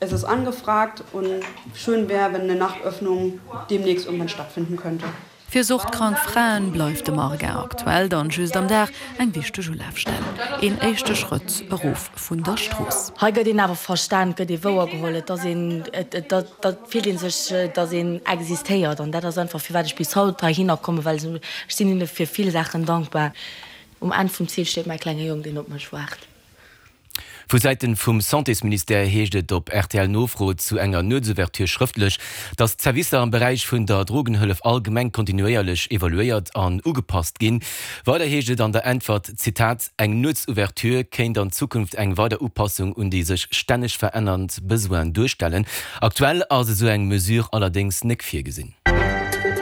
Es ist angefragt und schön wär, wenn eine Nachtöffnung demnächst irgendwann stattfinden könnte. Fir suchtkrank Fraen bleift de Marga aktuell dann just am Dag eng wichteg Ulafstell. Een éischte Schrëtt erof vun der Strooss. Hei gëtt een awer verstan, gëtt ee wouergeholl, et ass een, et fillt ee sech, datt een existéiert an dat ass einfach firwat ech bis haut heihinner kommen, well ech sinn hinne fir vill Saachen dankbar. Um Enn vum Ziel steet mäi klenge Jong, deen op mech waart. Vu Säiten vum Santésministère heescht et op RTL-Nofro zu enger Nuetsouverture schrëftlech, datt d'Servicer am Beräich vun der Drogenhëllef allgemeng kontinuéierlech evaluéiert an ugepasst ginn. Weider heescht et an der Äntwert, Zitat, Eng Nuetsouverture kéint an Zukunft eng weider Upassung un déi sech stänneg verännernd Besoinen duerstellen. Aktuell ass esou eng Mesure allerdéngs nek virgesinn.